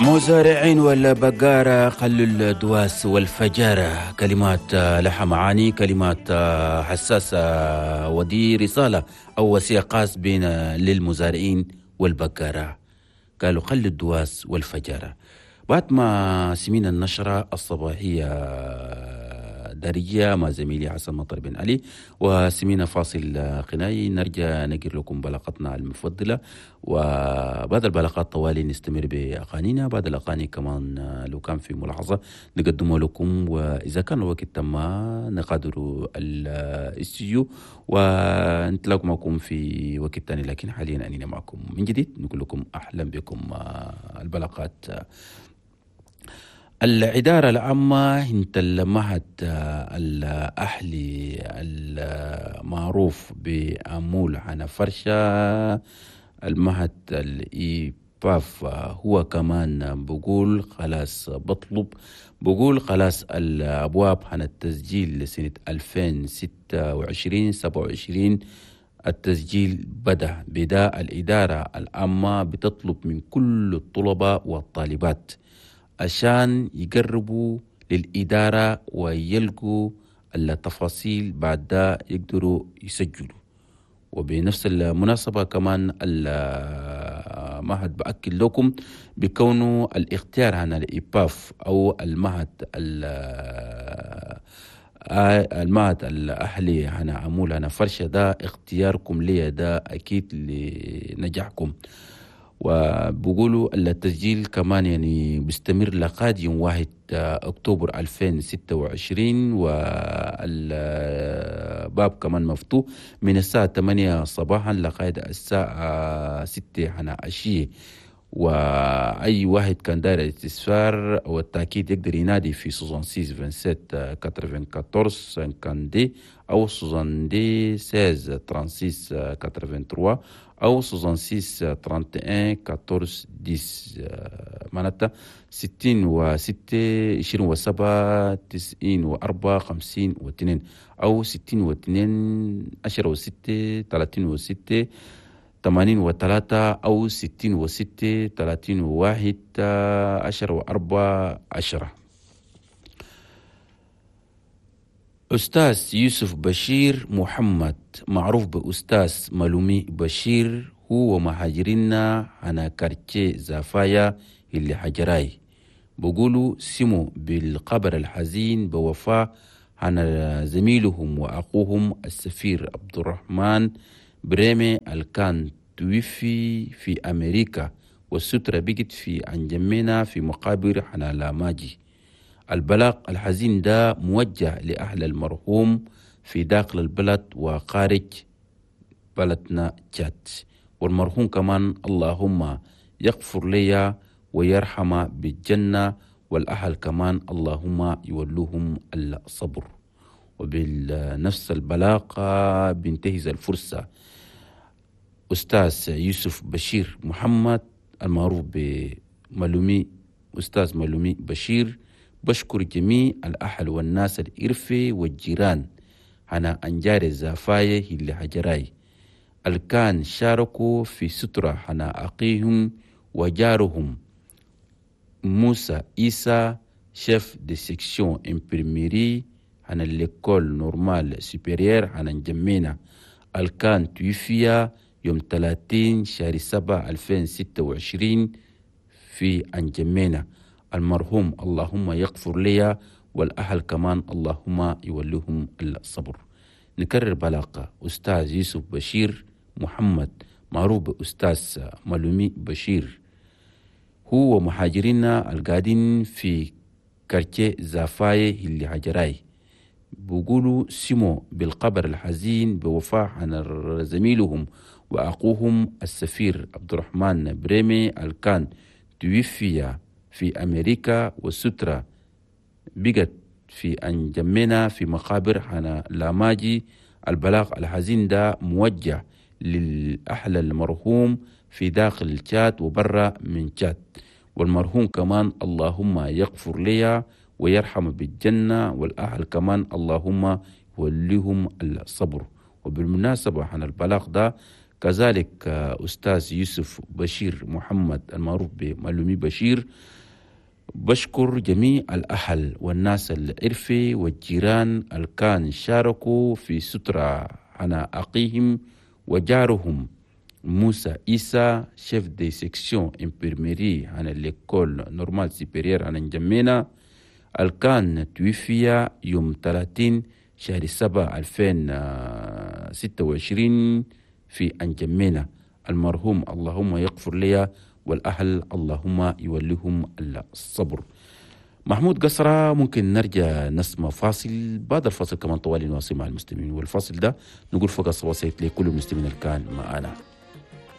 مزارعين ولا بقارة خلوا الدواس والفجارة. كلمات لها معاني، كلمات حساسة، ودي رسالة أو وصية خاص بين للمزارعين والبقارة. قالوا خلوا الدواس والفجارة. بعد ما سمينا النشرة الصباحية دارجة مع زميلي حسن مطر بن علي وسمينا فاصل غنائي، نرجع نقر لكم بلاقتنا المفضلة، وبعد البلاقات طوالي نستمر بأغانينا. بعد الأغاني كمان لو كان في ملاحظة نقدمه لكم، وإذا كان الوقت تم نغادر الاستوديو ونتلاقى معكم في وقت ثاني، لكن حاليا أننا معكم من جديد نقول لكم أهلا بكم. البلاقات الإدارة العامة انت المعهد الأهلي المعروف بأمول عن فرشة المعهد الإيباف، هو كمان بقول خلاص بطلب، بقول خلاص الأبواب عن التسجيل لسنة 2026-27 التسجيل بدأ. بدأ الإدارة العامة بتطلب من كل الطلبة والطالبات عشان يقربوا للإدارة ويلقوا التفاصيل، بعد ده يقدروا يسجلوا. وبنفس المناسبة كمان المعهد بأكد لكم بكونه الاختيار عن الإيباف أو المعهد الأهلي هنا عمول هنا فرشة، ده اختياركم ليه، ده أكيد لنجاحكم. وبقولوا التسجيل كمان يعني بيستمر لغاية يوم 1 أكتوبر 2026، والباب كمان مفتوح من الساعة 8 صباحا لغاية الساعة 6 هنا عشية. وأي واحد كان داير الاستفسار أو التأكيد يقدر ينادي في 66 27 94 52 أو 70 16 36 83 أو 66 31 14 10، معناتها 66 27 94 52 أو 62 10 6 36 83 أو 66 31 10 4 10. أستاذ يوسف بشير محمد معروف بأستاذ ملومي بشير، هو مهاجرنا على كارتشي زافايا اللي حجراي، بقولوا سمو بالقبر الحزين بوفاة عن زميلهم وأخوهم السفير عبد الرحمن بريمي الكان توفي في أمريكا، والسترة بقت في أنجمينا في مقابر حنالاماجي. البلاغ الحزين ده موجه لأهل المرحوم في داخل البلد وخارج بلدنا تشاد، والمرحوم كمان اللهم يغفر لي ويرحم بالجنة، والأهل كمان اللهم يولوهم الصبر. وبالنفس البلاغ بينتهز الفرصة أستاذ يوسف بشير محمد المعروف بملومي أستاذ ملومي بشير، بشكر جميع الأهل والناس الإرفي والجيران هنا أنجار الزافاية اللي حجراي الكان شاركوا في سترة هنا أخيهم وجارهم موسى إيسا chef de section imprimerie هنا l'école normale supérieure هنا نجمينا الكان توفي يوم 30 شهر 7 2026 في أنجمينا. المرحوم اللهم يغفر لي والأهل كمان اللهم يوليهم الصبر. نكرر بلاقة أستاذ يوسف بشير محمد معروف بأستاذ ملومي بشير، هو مهاجرينا القاعدين في كارتيه زافاي اللي هجراي، بقولوا سمو بالقبر الحزين بوفاة عن زميلهم وأخوهم السفير عبد الرحمن بريمي الكان توفي في أمريكا، والسترة بقت في أنجمنا في مقابر حنا لاماجي. البلاغ الحزين ده موجه للأهل المرحوم في داخل الشات وبرا من شات، والمرحوم كمان اللهم يغفر لي ويرحم بالجنة، والأهل كمان اللهم يوليهم الصبر. وبالمناسبة عن البلاغ ده كذلك أستاذ يوسف بشير محمد المعروف بمعلومي بشير. بشكر جميع الأهل والناس العرفي والجيران اللي كان شاركوا في سترة على أخيهم وجارهم موسى إيسا، chef de section infirmerie على l'école normale supérieure على نجمينا، الكان توفي يوم 30 شهر 7 2026 في أنجمينا. المرحوم اللهم يغفر لي والأهل اللهم يوليهم الصبر. محمود قصرة، ممكن نرجع نسمع فاصل، بعد الفاصل كمان طوالي نواصل مع المستمعين، والفاصل ده نقول فقط وصيت لكل المستمعين اللي كان معنا.